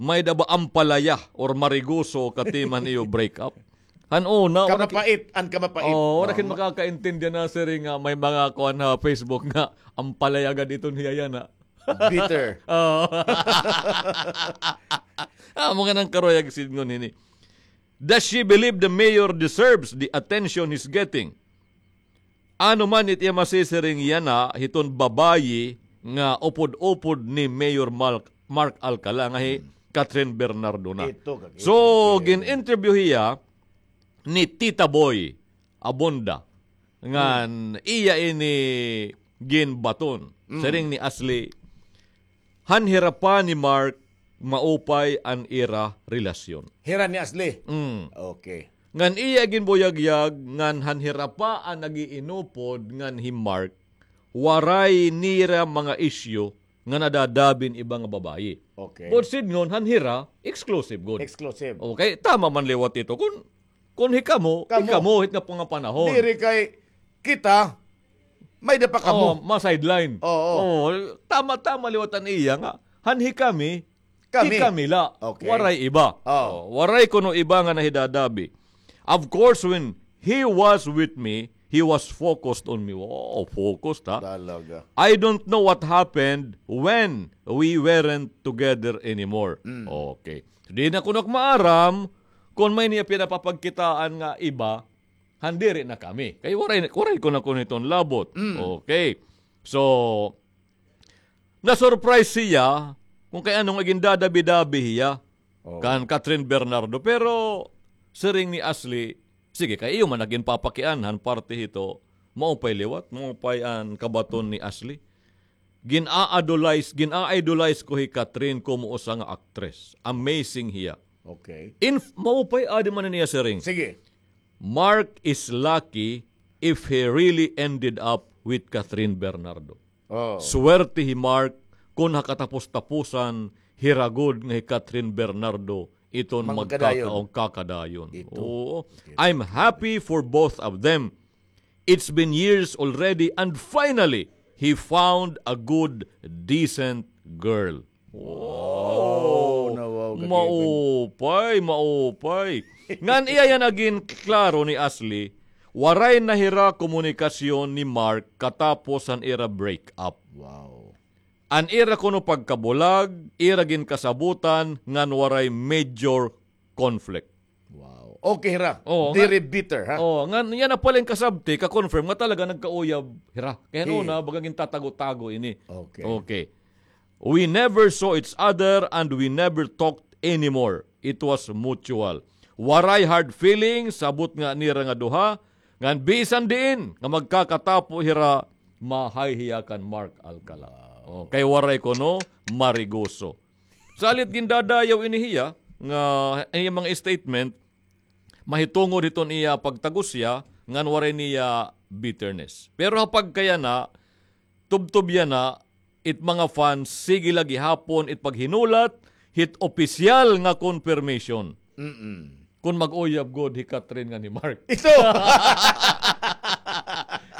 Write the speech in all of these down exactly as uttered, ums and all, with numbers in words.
may-ada ba ampalaya or marigoso katiman iyo break up? Han una, wara ki- Kamapait, an kamapait. Oh, wara kin makakaintindi na, sir, nga may mga kuan ha Facebook nga ampalaya gad iton hiya yana. Bitter. Oh. Ah, mga nang karuyag sidngon hini. Does she believe the mayor deserves the attention he's getting? Ano man it iya masisiring yana hiton babayi nga upod-upod ni Mayor Mark, Mark Alcala nga hi Catherine Bernardo na. Ito, kakita. So, gin-interview hiya ni Tita Boy Abunda. Ngan iya ini ginbaton. Siring ni Ashley, han hira pa ni Mark, maupay an ira relasyon. Hira ni Ashley? Mm. Okay. Ngan iya ginbuyagyag ngan han hira pa an nag-iinupod ngan hi Mark, waray nira mga isyu nga nadadabi hin iba nga babayi. Okay. But sidngon, han hira, exclusive gud. Exclusive. Okay, tama man liwat ito. Kun, kun hikamo, hikamo hit nga pangapanahon. Diri kay kita, may-ada pa kamo. Oh, ma-sideline. Oo. Oh, tama-tama liwat an iya nga. Han hikami, hikami la. Okay. Waray iba. Oh. Oh, waray kuno iba nga nahidadabi. Of course, when he was with me, he was focused on me. Oh, focused, ha? Talaga. I don't know what happened when we weren't together anymore. Mm. Okay. Di na kuno ak maaram kun may-ada niya pinapapagkitaan nga iba, han diri na kami. Kay waray, waray kuno ak hiton labot. Mm. Okay. So, na-surprise hiya kun kay ano nga gindadabi-dabi hiya kan Catherine Bernardo. Pero, siring ni Ashley, sige, kay iyo man an ginpapakianhan parte hito, maupay liwat, maupay an kabaton ni Ashley. Gin-a-idolize, gin-a-idolize ko hi Catherine komo usa nga aktres. Amazing hiya. Okay. In, maupay, adi man an iya siring. Sige. Mark is lucky if he really ended up with Catherine Bernardo. Oh. Swerte hi Mark kun ha katapos-tapusan, hira gud nga hi Catherine Bernardo iton magkaka-, magkakadayon. Ito. Oo. Okay. I'm happy for both of them. It's been years already and finally, he found a good, decent girl. Wow. Wow, kakipin. Maupay, maupay. Ngan iya yana ginklaro ni Ashley, waray na hira komunikasyon ni Mark katapos han ira break up. Wow. An ira kuno pagkabulag, ira ginkasabotan ngan waray major conflict. Wow. Okay ra. Oo, diri bitter, ha? Oo, ngan yana pala an kasabti, ka-confirm nga talaga nagkauyab hira. Kay han una, baga gintatago-tago ini. Okay. Okay. We never saw each other and we never talked anymore. It was mutual. Waray hard feelings, sabot nga nira nga duha, ngan bisan diin nga magkakatapo hira, mahay hiya kan Mark Alcala. Wow. Oh, kay waray kuno marigoso. Salit gindadayaw ini hiya nga iya mga statement, mahitungod hiton iya pagtagos hiya, ngan waray niya bitterness. Pero ha pagkayana, tubtob yana, it mga fans, sige la gihapon it paghinulat hit opisyal nga confirmation. Mm-mm. Kun mag-uyab gud hi Catherine ngan hi Mark. Ito!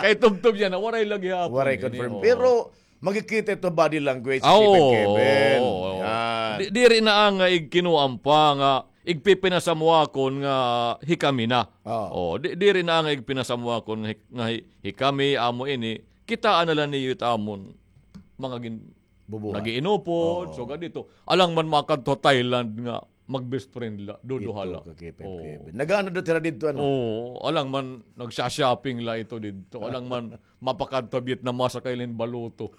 Kay tubtob yana, waray la gihapon. Waray confirm. Pero, makikita ito body language, Kevin. Yan. Di, diri na nga igkinuan pa nga igpipinasamwakon nga hikami na. Oh. Oh, di, diri na nga igpinasamwakon nga hi-, nga hi-, hikami, amo ini, kitaa na la niyo it amon mga gin-, bubuhat. Nag-iinupod, sugad dito. Alang man makadto Thailand nga mag-best friend la, duduha la. Ito, kakipin, Kevin. Nag-ano daw tira dito, ano? Oo, alang man nagsha-shopping la ito dito. Alang man mapakadto Vietnam, masakay la hin baluto.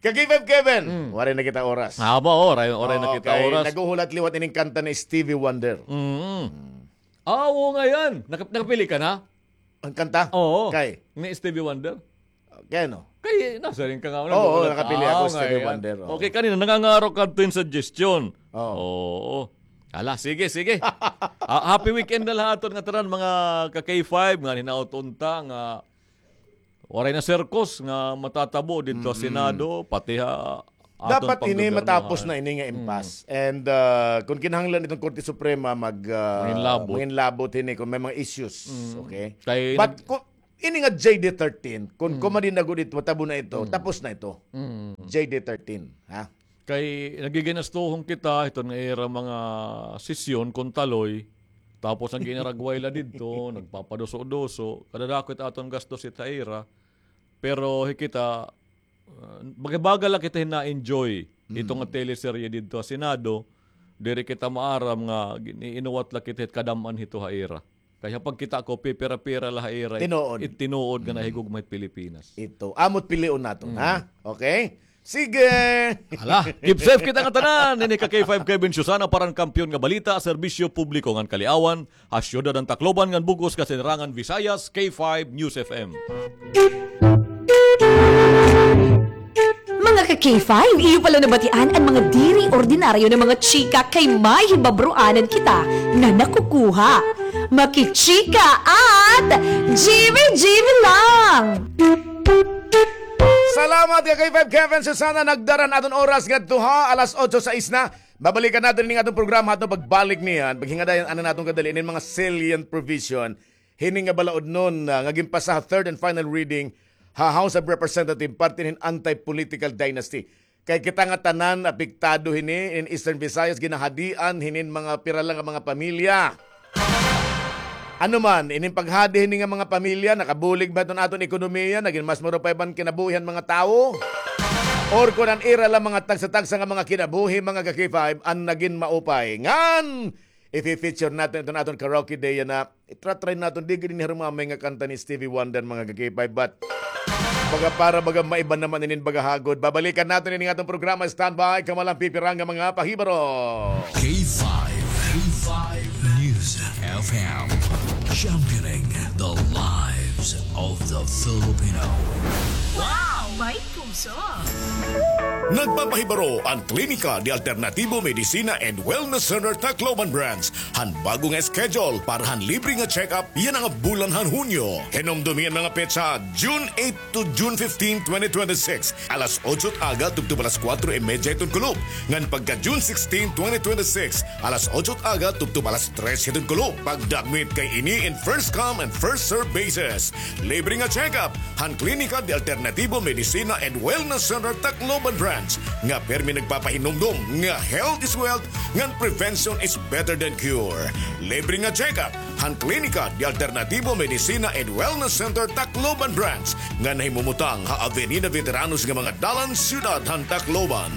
Kakipin, Kevin, waray na kita oras. Haba, oh, waray, waray na kita oras. Naghuhulat liwat ining kanta ni Stevie Wonder. Mm. Ah, oo nga yan. Naka-, nakapili ka na? An kanta? Oo. Kay? Ni Stevie Wonder? Kay ano? Kay, nasiring ka nga. Oo, nakapili ako, Stevie Wonder, oo. Okay, kanina, nangangaro ka adto hin suggestion. Oo. Oo. Hala, sige, sige. Ah, happy weekend na la ha aton ngatanan, mga ka-K five, nga hinaot unta, nga waray na circus nga matatabo didto ha Senado, pati ha Dapat ini matapos na ini nga impasse. And, ah, kon kinahanglan iton Korte Suprema mag, ah, manginlabot hini kon may mga issues. Okay? But kon, Ini nga J D thirteen, kun Mm. kumadin na gud ito, matabo na ito, Mm. tapos na ito. Mm. J D thirteen, ha? Kay nagiginastuhon kita, ito nga ira mga sesyon, kun taloy, tapos an ginaragway la didto, nagpapaduso-duso, kadadako it aton gastos it ha ira. Pero hikita, ah, baga-baga la kita hin na-enjoy ito nga Mm. teleserye didto ha Senado, diri kita maaram nga gin-, iinuwat la kita hit kadam-an hito ha ira. Kay ha pagkita ko, pipira-pira la ha ira it, Tinuod. it tinuod nga Mm. nahigugma hit Pilipinas. Ito. Amo it pilion naton, Mm. ha? Okay? Sige. Hala, keep safe kita ngatanan. Ini ka K five Kevin Susana para han Kampiyon nga Balita, Serbisyo Publiko ngan Kaliawan, ha siyudad han Tacloban ngan bug-os nga Sinirangan Visayas, K five News F M. Mga ka K five, iyo pala nabatian an mga diri ordinaryo nga mga chika kay may hibabroanan kita nga nakukuha. Makichika at jiwi-jiwi lang! Salamat ka K five Kevin Susana, nagdara an aton oras ngadto ha alas otso sais na. Babalikan naton ini nga aton programa ha aton pagbalik niyan. Paghingadayon anay naton kadali ini mga salient provision hini nga balaod nun, ah, nga ginpasa ha third and final reading ha House of Representatives parte hin anti-political dynasty. Kay kita nga tanan apektado hini in Eastern Visayas, ginahadian hinin mga pira la nga mga pamilya. Ano man, inin paghadi hini nga mga pamilya, nakabulig ba iton aton ekonomiya, nagin mas maupay ba an kinabuhi han mga tawo? Or kun an ira la mga tagsa-tagsa nga mga kinabuhi, mga ka K five, an nagin maupay? Ngan, ifi-feature naton iton aton karaoke day yana. Itra-try naton, di gud ini harumamay nga kanta ni Stevie Wonder, mga ka K five, but baga para baga maiba naman inin baga hagod. Babalikan naton ini nga aton programa. Standby, kamo la an pipira nga mga pahibaro. K five, K five News F M, championing the lives of the Filipino. Wow! May puso! Nagpapahibaro an Klinika de Alternativo Medicina and Wellness Center Tacloban Branch han bag-o nga schedule para han libre nga check-up yana nga bulan han Hunyo. Hinumdomi an mga petsa, June eight to June fifteen, twenty twenty-six, alas otso it aga tubtob alas kuwatro y medya hiton kulop. Ngan pagka June sixteen, twenty twenty-six, alas otso it aga tubtob alas tres hiton kulop. Pagdakmit kay ini in first come and first serve basis. Libre nga check-up han Klinika de Alternativo Medicina and Wellness Center Tacloban Branch nga pirmi nagpapahinumdom nga health is wealth ngan prevention is better than cure. Libre nga check-up han Klinika de Alternativo Medicina and Wellness Center Tacloban Branch nga nahimumutang ha Avenida Veteranos nga mga dalan, siyudad han Tacloban.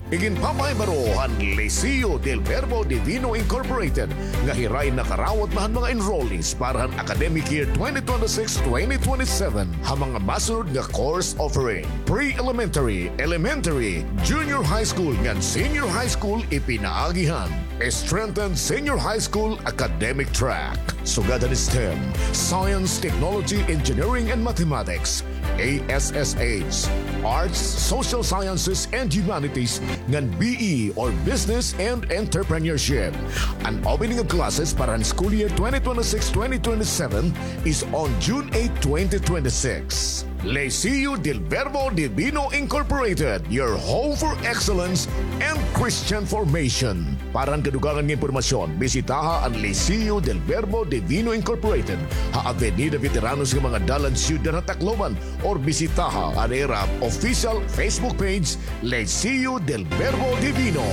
Iginpapahibaro han Liceo del Verbo Divino Incorporated nga hiray nakarawat na han mga enrollees para han academic year twenty twenty-six, twenty twenty-seven ha mga masunod nga course offering: pre-elementary, elementary, junior high school, ngan senior high school ipinaagi han Strengthen Senior High School Academic Track. Sugad han STEM, Science, Technology, Engineering, and Mathematics, A S S H, Arts, Social Sciences, and Humanities, ngan B E or Business and Entrepreneurship. An opening of classes para han school year twenty twenty-six, twenty twenty-seven is on June eight, twenty twenty-six. Liceo del Verbo Divino Incorporated, your home for excellence and Christian formation. Para han kadugangan nga impormasyon, bisitaha an Liceo del Verbo Divino Incorporated ha Avenida Veteranos nga mga dalan, siyudad han Tacloban, or bisitaha an ira official Facebook page, Liceo del Verbo Divino.